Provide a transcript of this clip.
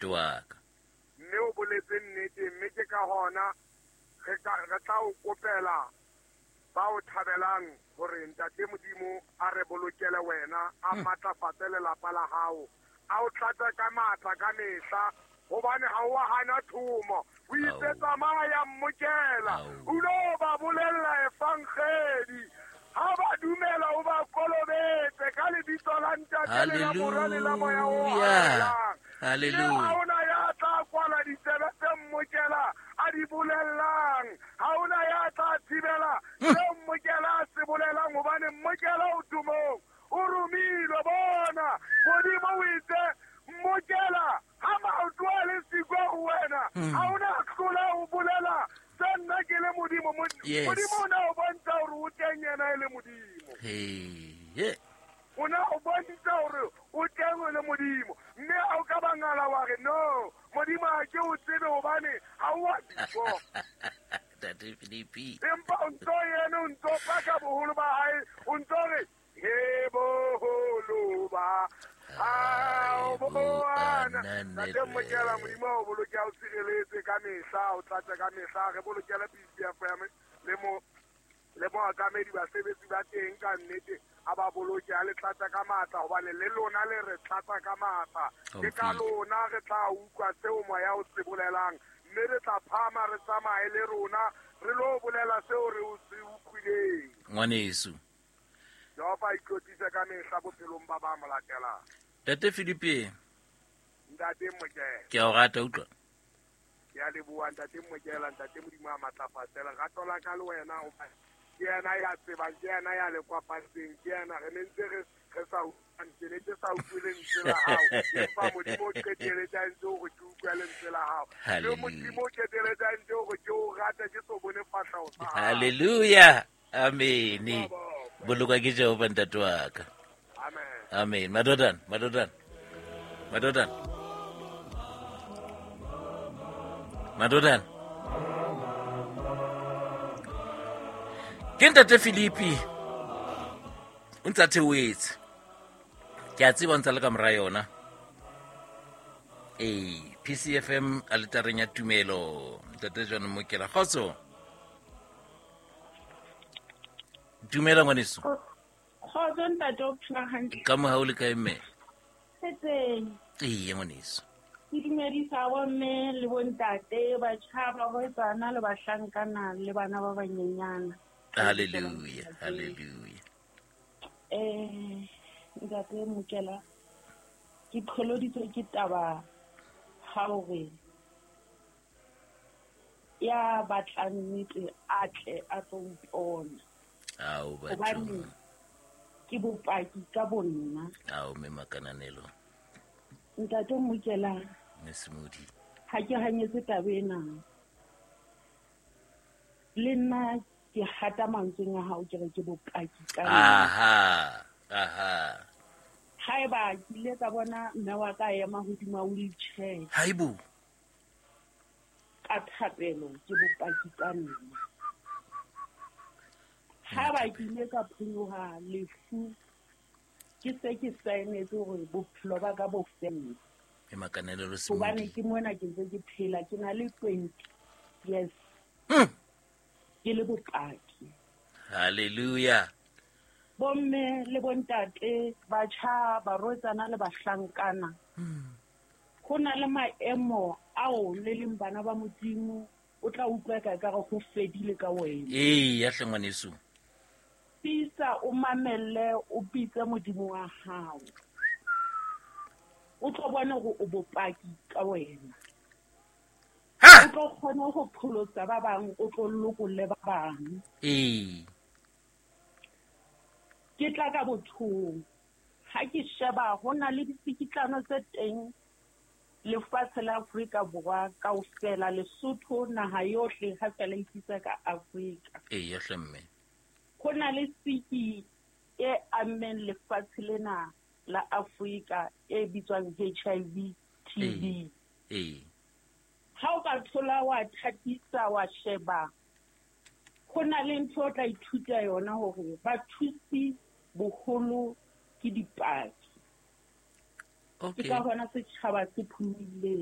Wa ka. Mme o boletse nnete, mme ke ka hona re tla o kopela ba o thabelang hore Ntate Modimo a re bolokele wena, a matlafatse lelapa la hao, a o tlatse ka matla ka mehla, hobane ha o a hana thomo. O itse tsamaya mmokela, o lo ba bolella evangeli. Ha ba dumela o ba kolobetse ka lebitso la Ntate le la Mora le la Moya o Halalelang. Hallelujah. Ha ona ya tla kwala ditsebe tse mmokela a di bolellang. Ha ona ya tla thibela seo mmokela a se bolelang, hobane mmokela o tumong, o romilwe. Bona, Modimo o itse mmokela ha maoto a le siko ho wena, ha ona hlola ho bolela se nna ke le Modimo. Modimo o na o bontsha hore o teng yena e le Modimo. Hey. O na o bontsha hore o teng o le Modimo. Mme ha o ka bangala wa re no, Modimo ha ke o tsebe hobane ha o a bifo. Ntate Philippi. Empa o ntso yena o ntso paka boholo ba hae, o ntso re he boholo ba hao bo ana. Ntate Mokela, Modimo o boloke o tshireletse ka mehla, o tlatse ka mehla, re bolokele PCFM le mo le mookamedi basebetsi ba teng ka nnete a ba boloke a le tlatsa ka matla, hobane le lona le re tlatsa ka matla. Ke ka lona re tla utlwa seo moya o se bolelang, mme re tla phama re tsamaye le rona re lo bolela seo re o se utlwileng. Ngwaneso. Jehova a itlotlise ka mehla bophelong ba ba mo latelang. Ntate Philippi. Ntate Mokela. Ke a o rata, utlwa. Ke a leboha Ntate Mokela, Ntate Modimo a matlafatse lerato la ka le wena, hobane ke yena ya tsebang, ke yena ya le kopantseng, ke yena re ne ntse re sa utlwane, ke ne ke sa utlwe lentswe la hao, empa Modimo o qeteletse a entse hore ke utlwe lentswe la hao. Le Modimo o qeteletse a entse hore ke o rate, ke so bone fahleho sa hao. Hallelujah. Amen. Bolokwa ke Jehova ntate wa ka. Amen. Amen. Madodana, madodana. Madodana. Madodana. Ke Ntate Philippi. O ntse a theohetse. Ke a tseba o ntse a le ka mora yona. Ee, PCFM aletareng ya tumelo. Ntate John Mokela. Kgotso. Dumela ngwaneso. Kgotso ntate, o phela hantle? Ka mohau le kae mme? Re teng. Ee, ngwaneso. Ke dumedisa bomme le bontate, batjha, barwetsana le bahlankana le bana ba banyenyana. Hallelujah, hallelujah. Ntate Mokela, ke qholoditswe ke taba ha hore ya batlang nnete a tle a tlo mpona. Ao, batho. Hobane ke bopaki ka bonna. Ao, mme Makananelo. Ntate Mokela, Mme Smoothie. ha ke hanyetse taba ena. Le nna ke hata mantsweng a hao, ke re ke bopaki ka nna. Aha, aha. Haeba ke ile ka bona mme wa ka ema hodima wheelchair. Haibo. Ka thapelo ke bopaki ka nna. Haeba ke ile ka phonyoha lefu, ke se ke saenetse hore bophelo ba ka bo felle. E makanelo le Hobane Smoothie. ke mona ke ntse ke phela, ke na le 20 years. Ke le bopaki. Hallelujah. Bomme le bontate, batjha, barwetsana le bahlankana. Ho na le maemo ao le leng bana ba Modimo, o tla utlwa ka ekare ho fedile ka wena. Ee, ya hle ngwaneso. Tiisa, o mamelle, o bitse Modimo wa hao. O tlo bona hore o bopaki ka wena. Ha! O tlo kgona ho pholosa ba bang, o tlo lokolle ba bang. Ee. Ke tla ka bothong. Ha ke sheba ho na le ditsikitlano tse teng lefatshe la Afrika Borwa kaofela, Lesotho, naha yohle ha fela e ipitsa ka Afrika. Ee, ya hle mme. Ho na le siki e ammeng lefatshe lena la Afrika e bitswang HIV TB. Ee. Ha o ka thola wa thatisa wa sheba, ho na le ntho o tla ithuta yona hore bathusi boholo ke dipaki. Ke ka hona setjhaba se phumileng.